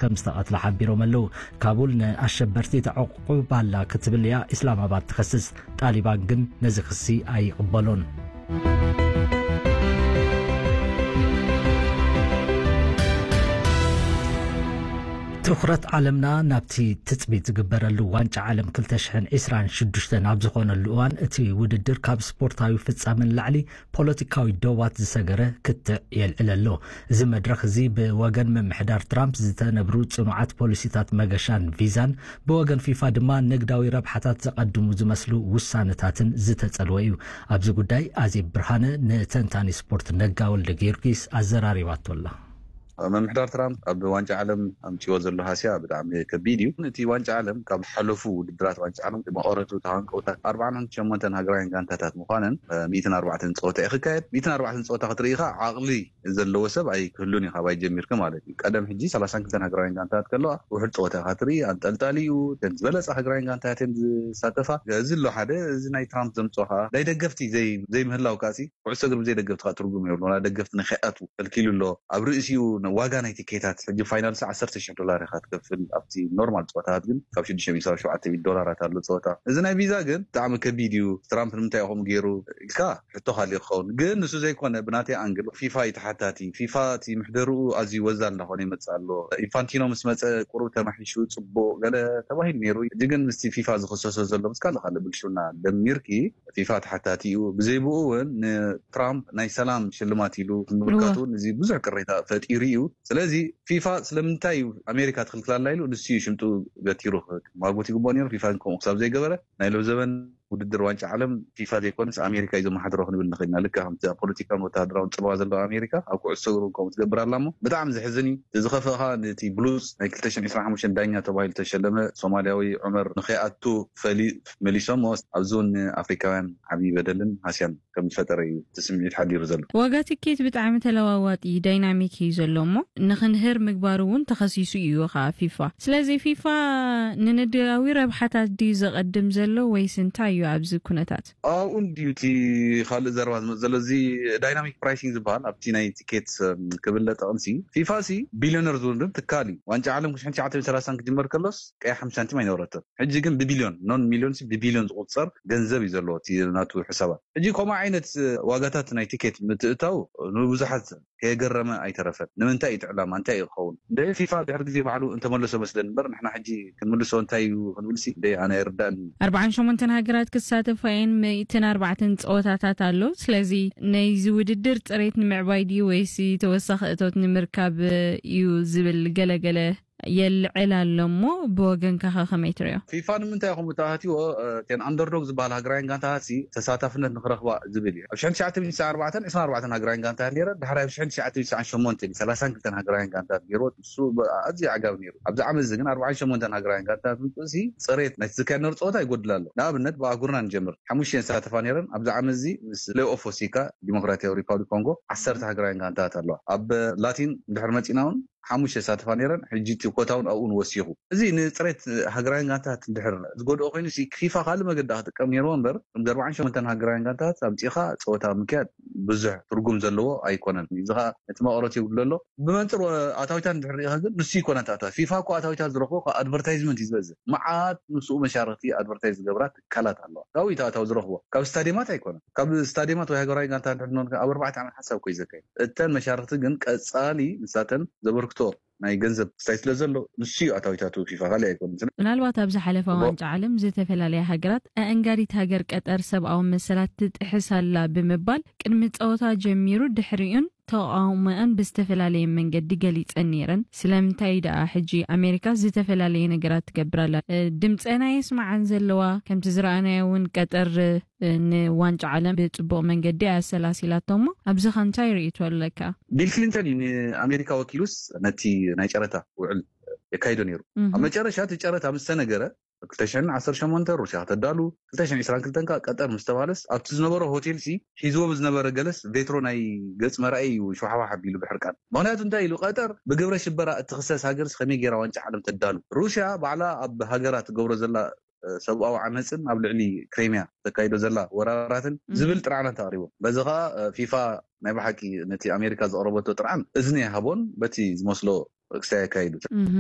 ከም ዝተቐትላ ሓቢሮም ኣለዉ። ካቡል ንኣሸበርቲ ተዕቑብ ኣላ ክትብል እያ ኢስላማባድ ትኸስስ። ጣሊባን ግን ነዚ ክሲ ኣይቕበሎን። ትኹረት ዓለምና ናብቲ ትጽቢት ዝግበረሉ ዋንጫ ዓለም ክልተ ሽሕን ዕስራን ሽዱሽተን ኣብ ዝኾነሉ እዋን፣ እቲ ውድድር ካብ ስፖርታዊ ፍጻመ ንላዕሊ ፖለቲካዊ ዶባት ዝሰገረ ክትዕ የልዕል ኣሎ። እዚ መድረኽ እዚ ብወገን ምምሕዳር ትራምፕ ዝተነብሩ ጽኑዓት ፖሊሲታት መገሻን ቪዛን፣ ብወገን ፊፋ ድማ ንግዳዊ ረብሓታት ዘቐድሙ ዝመስሉ ውሳነታትን ዝተጸልወ እዩ። ኣብዚ ጉዳይ ኣዜብ ብርሃነ ንተንታኒ ስፖርት ነጋ ወልደ ጊዮርጊስ ኣዘራሪባቶ ኣላ። ምምሕዳር ትራምፕ ኣብ ዋንጫ ዓለም ኣምጺዎ ዘሎ ሃስያ ብጣዕሚ ከቢድ እዩ። እቲ ዋንጫ ዓለም ካብ ሓለፉ ውድድራት ዋንጫ ዓለም መቐረቱ ተሃንቀውታ ኣርባዓን ሸሞንተን ሃገራውያን ጋንታታት ምዃነን፣ እ፣ ሚእትን ኣርባዕተን ጸወታ እዩ ክካየድ። ሚእትን ኣርባዕተን ጸወታ ክትርኢ ኢኻ፣ ዓቕሊ ዘለዎ ሰብ ኣይክህሉን እዩ፣ ካብ ኣይ ጀሚርካ ማለት እዩ። ቀደም ሕጂ ሰላሳን ክልተን ሃገራውያን ጋንታታት ከለዋ፣ ውሑድ ጸወታ ኢኻ ትርኢ፣ ኣንጠልጣሊ እዩ። እተን ዝበለጸ ሃገራውያን ጋንታታት እየን ዝሳተፋ። እዚ ኣሎ ሓደ፣ እዚ ናይ ትራምፕ ዘምጽኦ ኸኣ ናይ ደገፍቲ ዘይ-፣ ዘይምህላው ካሲ፣ ኩዕሶ እግሪ ብዘይ ደገፍቲ ከኣ ትርጉም የብሉን። ዋላ ደገፍቲ ንኸይኣትዉ ከልኪሉ ኣሎ። ኣብ ርእሲኡ ን-፣ ዋጋ ናይ ቲኬታት፣ ሕጂ ፋይናልሲ ዓሰርተ ሽሕ ዶላር ኢኻ ትከፍል። ኣብቲ ኖርማል ጸወታታት ግን ካብ ሽዱሽተ ሚእቲ ክሳብ ሸውዓተ ሚእቲ ዶላራት ኣሎ ጸወታ። እዚ ናይ ቪዛ ግን ብጣዕሚ ከቢድ እዩ። ትራምፕ ንምንታይ እዩ ከምኡ ገይሩ ኢልካ ሕቶ ካልእ ክኸውን። ግን ንሱ ዘይኮነ፣ ብናተይ ኣንግል ፊፋ እዩ ተሓታቲ። ፊፋ እቲ ምሕደርኡ ኣዝዩ ወዛል እናኾነ ይመጽእ ኣሎ። ኢንፋንቲኖ ምስ መጸ ቁሩብ ተማሒሹ ጽቡቕ ገለ ተባሂሉ ነይሩ። ሕጂ ግን ምስቲ ፊፋ ዝኽሰሶ ዘሎ ምስ ካልእ ካልእ ብልሽውና ደሚርኪ ፊፋ ተሓታቲ እዩ። ብዘይ ብኡ እውን ንትራምፕ ናይ ሰላም ሽልማት ኢሉ ምምልካቱ እውን እዚ ብዙሕ ቅሬታ ፈጢሩ እዩ። ስለዚ ፊፋ ስለምንታይ እዩ ኣሜሪካ ትኽልክላላ ኢሉ ንሱ እዩ ሽምጡ ገቲሩ ክማጎት ይግብኦ ነይሩ። ፊፋ ግን ከምኡ ክሳብ ዘይገበረ ናይ ሎምዘበን ውድድር ዋንጫ ዓለም ፊፋ ዘይኮነስ ኣሜሪካ እዩ ዘመሓድሮ ክንብል ንኽእል ኢና። ልክዕ ከምቲ ኣብ ፖለቲካን ወተሃደራውን ጽልዋ ዘለዋ ኣሜሪካ ኣብ ኩዕሶ እግሪ እውን ከምኡ ትገብር ኣላ። እሞ ብጣዕሚ ዘሕዝን እዩ። እቲ ዝኸፍእ ኸኣ ነቲ ብሉጽ ናይ ክልተ ሽሕን ዕስራን ሓሙሽተን ዳኛ ተባሂሉ ዝተሸለመ ሶማልያዊ ዑመር ንኸይኣቱ ፈሊ-፣ መሊሶሞ። ኣብዚ እውን ንኣፍሪካውያን ዓብዪ በደልን ሃስያን ከም ዝፈጠረ እዩ እቲ ስምዒት ሓዲሩ ዘሎ። ዋጋ ትኬት ብጣዕሚ ተለዋዋጢ ዳይናሚክ እዩ ዘሎ እሞ ንኽንህር ምግባሩ እውን ተኸሲሱ እዩ ኸዓ ፊፋ። ስለዚ ፊፋ ንንግዳዊ ረብሓታት ድዩ ዘቐድም ዘሎ ወይስ እንታይ እዩ ኣብዚ ኩነታት? ኣብኡ እንድዩ እቲ ካልእ ዘረባ ዝመጽእ ዘሎ፣ እዚ ዳይናሚክ ፕራይሲንግ ዝበሃል ኣብቲ ናይ ቲኬት፣ እም፣ ክብለ ጠቕምሲ። ፊፋ ሲ ቢልዮነር ዝውድብ ትካል እዩ። ዋንጫ ዓለም ሺሕ ትሽዓተ ሚእትን ሰላሳን ክጅመር ከሎስ ቀይ ሓምሳ ሳንቲም ኣይነበረትን። ሕጂ ግን ብቢልዮን፣ ኖን ሚልዮን ሲ ብቢልዮን ዝቑጸር ገንዘብ እዩ ዘለዎ እቲ ናቱ ሕሳባት። ሕጂ ከምኡ ዓይነት ዋጋታት ናይ ቲኬት ምትእታው ንብዙሓት ከየገረመ ኣይተረፈን። ንምንታይ እዩ እቲ ዕላማ? እንታይ እዩ ክኸውን? እንደ ፊፋ ድሕሪ ግዜ ባዕሉ እንተመለሶ መስለኒ እምበር፣ ንሕና ሕጂ ክንምልሶ እንታይ እዩ ክንብልሲ፣ እንደ ኣነ ኣይርዳእን። ኣርባዓን ሸሞንተን ሃገራት ክሳተፋ እየን፣ ሚእትን ኣርባዕተን ጸወታታት ኣሎ። ስለዚ ናይዚ ውድድር ጽሬት ንምዕባይ ድዩ ወይስ ተወሳኺ እቶት ንምርካብ እዩ ዝብል ገለገለ የልዕል ኣሎ እሞ፣ ብወገንካ ኸ ከመይ ትሪኦ? ፊፋ ንምንታይ ኢኹም ተኣትይዎ? እ፣ እተን ኣንደርዶግ ዝበሃል ሃገራውያን ጋንታታት ሲ ተሳታፍነት ንኽረኽባ ዝብል እዩ። ኣብ ሺሕ ትሽዓተ ሚእትን ስሳን ኣርባዕተን ዕስራን ኣርባዕተን ሃገራውያን ጋንታታት ነይረን። ድሕሪ ኣብ ሺሕ ትሽዓተ ሚእትን ስሳን ሸሞንተን እዩ ሰላሳን ክልተን ሃገራውያን ጋንታታት ገይርዎ። ንሱ ብ-፣ ኣዝዩ ኣዕጋቢ ነይሩ። ኣብዚ ዓመት እዚ ግን ኣርባዓን ሸሞንተን ሃገራውያን ጋንታታት ምምፅኡ ሲ ፅሬት ናይቲ ዝካየድ ነበረ ፀወታ ይጎድል ኣሎ። ንኣብነት ብኣህጉርና ንጀምር። ሓሙሽተ እየን ዝሳተፋ ነይረን። ኣብዚ ዓመት እዚ ምስ ፕሌይ ኦፍ ወሲካ ዲሞክራሲያዊ ሪፓብሊክ ኮንጎ ዓሰርተ ሃገራውያን ጋንታታት ኣለዋ። ኣብ ላቲን ድሕሪ መፂና እውን ሓሙሽተ ይሳተፋ ነይረን። ሕጂ እቲ ኮታ እውን ኣብኡ ንወሲኹ። እዚ ንፅሬት ሃገራውያን ጋንታታት እንድሕር ዝጎድኦ ኮይኑ ሲ ፊፋ ካልእ መገዲ ክጥቀም ነይርዎ እምበር፣ ከምዚ ኣርባዓን ሸሞንተን ሃገራውያን ጋንታታት ኣምፂኻ ፀወታ ምክያድ ብዙሕ ትርጉም ዘለዎ ኣይኮነን። እዚ ኸዓ ነቲ መቐረት የብሉ ኣሎ። ብመንፅር ኣታዊታት እንድሕር ርኢኻ ግን ንሱ ይኮነ ኣታዊታት። ፊፋ እኮ ኣታዊታት ዝረኽቦ ካብ ኣድቨርታይዝመንት እዩ ዝበዝሕ። መዓት ምስኡ መሻርኽቲ ኣድቨርታይዝ ዝገብራ ትካላት ኣለዋ። ካብኡ እዩ ኣታዊ ዝረኽቦ። ካብ ስታዲየማት ኣይኮነን። ካብ ስታዲየማት ወይ ሃገራዊ ጋንታ እንድሕር ንኾን ኣብ ኣርባዕተ ዓመት ሓሳብ እኮ እዩ ዘካይድ። እተን መሻርኽቲ ግን ቀፃሊ ንሳተን ዘበርክቶ ናይ ገንዘብ ክስታይ ስለ ዘሎ ንሱ እዩ ኣታዊታቱ ፊፋ፣ ካልእ ኣይኮነን። ስለ ምናልባት ኣብ ዝሓለፈ እሞ ዋንጫ ዓለም ዝተፈላለያ ሃገራት ኣእንጋዲት ሃገር ቀጠር ሰብኣዊ መሰላት ትጥሕስ ኣላ ብምባል ቅድሚ ጸወታ ጀሚሩ ድሕሪኡን ተቓውሞኣን ብዝተፈላለየ መንገዲ ገሊጸን ነይረን። ስለምንታይ ደኣ ሕጂ ኣሜሪካ ዝተፈላለየ ነገራት ትገብር ኣላ? እ፣ ድምጸን ኣየስምዓን ዘለዋ? ከምቲ ዝረኣናዮ እውን ቀጠር፣ እ፣ ንዋንጫ ዓለም ብጽቡቕ መንገዲ ኣሰላሲላቶ እሞ፣ ኣብዚ ኸ እንታይ ርእይቶ ኣለካ? ቢል ክሊንተን እዩ ንኣሜሪካ ወኪሉስ ነቲ ናይ ጨረታ ውዕል የካይዶ ነይሩ። እህ። ኣብ መጨረሻ እቲ ጨረታ ምስ ተነገረ፣ ክልተ ሽሕን ዓሰርተ ሸሞንተ ሩስያ ከተዳሉ፣ ክልተ ሽሕን ዕስራን ክልተን ከኣ ቀጠር ምስ ተባለስ፣ ኣብቲ ዝነበረ ሆቴል ሲ ሒዝዎ ብዝነበረ ገለስ ቬትሮ ናይ ገጽ መርኣይ እዩ ሸዋሕዋሕ ኣቢሉ ብሕርቃን። ምኽንያቱ እንታይ ኢሉ፣ ቀጠር ብግብረ ሽበራ እትኽሰስ ሃገርስ ከመይ ገይራ ዋንጫ ዓለም ተዳሉ? ሩስያ ባዕላ ኣብ ሃገራ ትገብሮ ዘላ፣ እ፣ ሰብኣዊ ዓመጽን ኣብ ልዕሊ ክሬምያ ተካይዶ ዘላ ወራራትን እም። ዝብል ጥርዓናት ኣቕሪቦም። በዚ ኸኣ፣ እ፣ ፊፋ ናይ ብሓቂ ነቲ ኣሜሪካ ዘቕረበቶ ጥርዓን እዝኒ ኣይሃቦን፣ በቲ ዝመስሎ ክስታይ ኣካይዱ። እህ።